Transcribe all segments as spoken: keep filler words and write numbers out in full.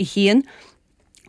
a haon.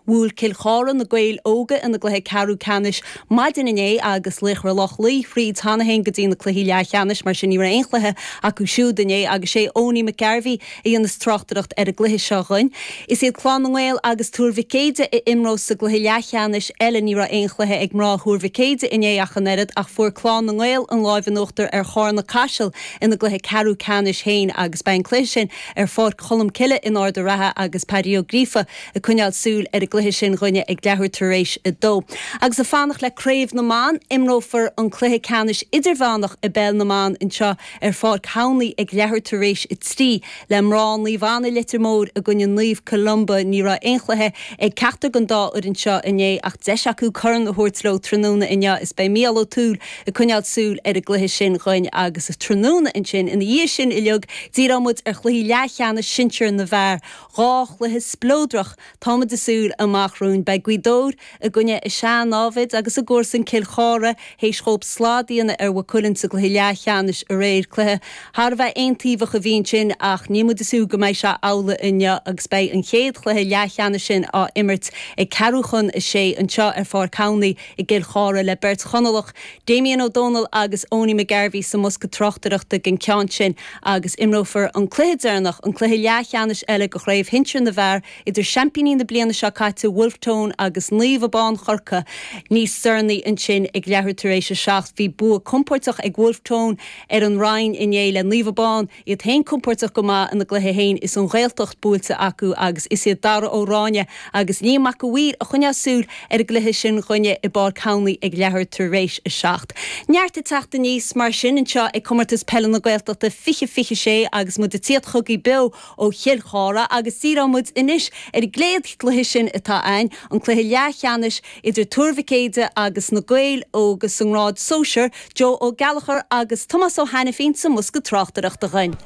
Bhuail Cill Chartha na Gaeil Óga ina gcluiche ceathrú ceannais maidin inné agus Laochra Loch Lao thríd cheana féin go dtí na cluichí leathcheannais mar sin ní raibh aon chluiche acu siúd inné agus sé Owenie McGarvey a dhéanfas tráchtaireacht ar an gcluiche seo dhuinn. Is iad Clann na nGael agus Tuar Mhic Éadaigh a imreos sa gcluiche leathcheannais eile ní raibh aon chluiche ag mná Thuar Mhic Éadaigh inné ach an oiread ach fuair Clann na nGael an lámh in uachtar ar Charna Caiseal ina gcluiche ceathrú ceannais féin agus beidh an cluiche sin ar Pháirc Cholm Cille in Ard an Rátha agus Paddy Ó Gríofa ag coinneáil súil ar an gcluiche sin dhuine ag leathuair tar éis a dó. Agus ag fanacht le Craobh na mBan imreofar an cluiche ceannais idirmheánach i bpeil na mban anseo ar Pháirc Thamhnaí ag leathuair tar éis a trí le mná Naomh Anna Leitir Móir i gcoinne Naomh Columba ní raibh aon chluiche ag ceachtar den dá fhoireann seo inné ach deis acu corn a thabhairt leo tráthnóna inniu is beidh Mícheál Ó Tuathail ag coinneáil súil ar an gcluiche sin dhuinn agus tráthnóna ansin ina dhiaidh sin uilig díreoidh muid ar chluichí leathcheannais sinsir na bhfear dhá chluiche spleodrach táimid ag súil amach romhainn beidh Gaoth Dobhair i gcoinne a sean-námhaid agus a gcomharsan Cill Chartha théis dóibh slad a dhéanamh ar Mhaigh Cuilinn sa gcluiche leathcheannais aréir cluiche thar a bheith aontaobhach a bhí ansin ach níl muid ag súil go mbeidh sé amhlaidh inniu agus beidh an chéad chluiche leathcheannais sin á imirt ag ceathrú chun a sé anseo ar Pháirc Thamhnaí i gCill Chartha le beirt Chonallach Damien Ó Dónaill agus Owenie McGarvey sa mbosca tráchtaireachta den ceann sin agus imreofar an cluiche deireanach an cluiche leathcheannais eile de chraobh shinsir na bhfear idir seaimpíní na bliana seo caite Wolfe Tone agus Naomh Abán Chorca níos deireanaí ansin ag leathuair tar éis a seacht bhí bua compordach ag Wolfe Tone ar an Rinn inné le Naomh Abán iad féin compordach go maith ina gcluiche féin is an Ghaeltacht buailte acu agus is iad Dara Ó Ráine agus Liam Mac a' Mhaoir a choinneos súil ar an gcluiche sin dhuine i bPáirc Thamhnaí ag leathuair tar éis a seacht. Neart ag teacht aníos mar sin anseo ag comórtas peile na Gaeltachta fiche fiche sé agus muid ag tíocht chugaibh beo ó Chill Chartha agus díreoidh muid anois ar an gcéad chluiche sin atá ann an cluiche leathcheannais idir Tuar Mhic Éadaigh agus na Gaeil Óga sa ngrád sóisir Joe Ó Gallchóir agus Tomás Ó Hainifín sa mbosca tráchtaireachta dhuinn.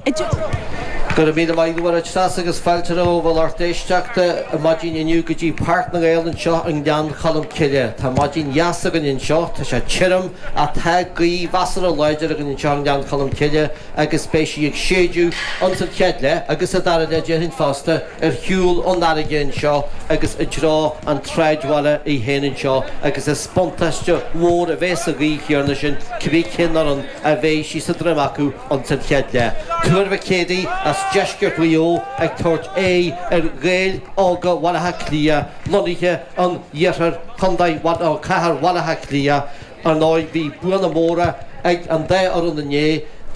Go raibh míle maith agat agus fáilte romhaibh a lucht éisteachta maidin inniu go dtí Páirc na nGael anseo i nGleann Cholm Cille. Tá maidin dheas againn anseo, tá sé tirim ach tá gaoth mheasartha láidir againn anseo i nGleann Cholm Cille agus beidh sí ag séideadh ansan chéad leath agus sa dara leath déarfainn fosta ar shiúl ón fharraige anseo agus i dtreo an tsráidbhaile í féin anseo agus is buntáiste mhór a bheidh sa ghaoth chéanna sin cibé cén fhoireann a bheidh sí sa droim acu ansan chéad leath. Tuar Mhic Éadaigh as deisceart Mhaigh Eo ag tabhairt aghaidh ar Ghaeil Óga Bhaile Átha Cliath lonnaithe in iarthar Chontae Chathair Bhaile Átha Cliath ar ndóigh bhí buanna móra ag an dá fhoireann inné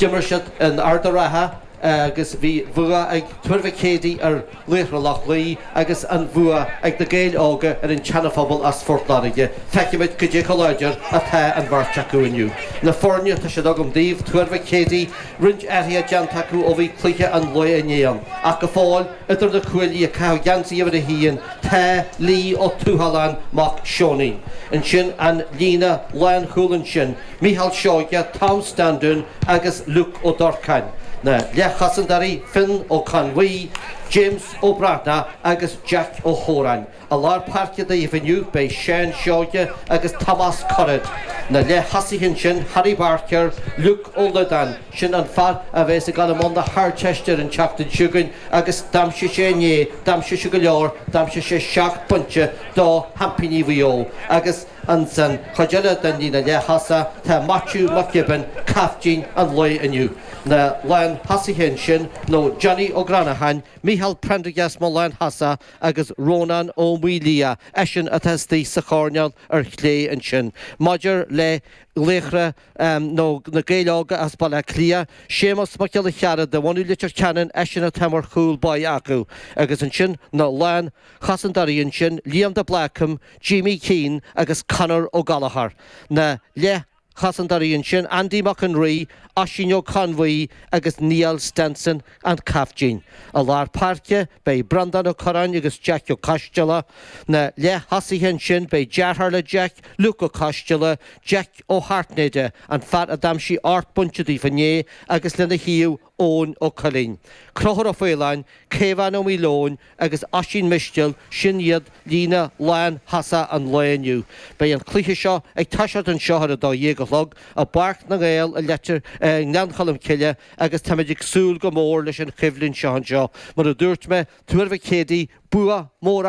d'imir siad in Ard an Rátha agus bhí bua ag Tuar Mhic Éadaigh ar Laochra Loch Lao agus an bua ag na Gaeil Óga ar an tSeana-Phobal as Phort Láirge. Feicfimid cad é chomh láidir atá an bheirt acu inniu. Na foirne tá siad agam daoibh Tuar Mhic Éadaigh roinnt athruithe déanta acu ó bhí cluiche an lae inné ann. Ach go fóill idir na cuaillí ag caitheamh geansaí uimhir a haon tá Lee Ó Tuathaláin mac Seoinín. Ansin an líne lánchúil ansin, Micheál Seoige, Tom Standún agus Luke Ó Dorcáin. Na leathchosantóirí Finn Ó Conmhaí, James Ó Breathnach agus Jack Ó Hóráin. I lár páirce daoibh inniu beidh Seán Seoige agus Tomás Currid. Na leath-thosaithe ansin Harry Barker, Luke Ó Loideáin, sin an fear a bheas ag dul i mbun na hArdteiste ar an tseachtain seo chugainn agus d'aimsigh sé inné, d'aimsigh sé go leor, d'aimsigh sé seacht bpointe do sheaimpíní Mhaigh Eo agus ansan chuid eile den líne leath-thosaigh tá Maitiú Mac Gibbon, caiftín an lae inniu. Na lán-thosaithe ansin nó Johnny Ó Granacháin, Micheál Prendergast mar lán-thosach agus Rónán Ó Maoildhia, eisean atá istigh sa choirnéal ar chlé ansin. Maidir le Laochra nó na Gaeil Óga as Baile Átha Cliath, Séamus Mac Giolla Cheara de bhunadh Leitir Ceanainn, eisean atá mar chúl báire acu. Agus ansin na lán-chosantóirí ansin, Liam de Blácam, Jamie Keane agus Conor Ó Gallchóir. Na leath-chosantóirí ansin, Andy Mac an Rí, Oisín Ó Conmhaí agus Niall Stenson an caiftín. I lár páirce beidh Breandán Ó Curráin agus Jack Ó Coisteala. Na leath-thosaithe ansin beidh deartháir le Jack, Luke Ó Coisteala, Jack Ó hAirtnéide, an fear a d'aimsigh ocht bpointe daofa inné agus lena thaobh Eoin Ó Cuilinn. Conchúr Ó Faoláin, Caomhán Ó Maoileoin agus Oisín Mistéil, sin iad líne lán-thosach an lae inniu. Beidh an cluiche seo ag toiseacht anseo ar a dó dhéag a chlog i bPáirc na nGael i Leitir i nGleann Cholm Cille agus táimid ag súil go mór leis an choimhlint seo anseo. Mar a dúirt mé, Tuar Mhic Éadaigh bua mór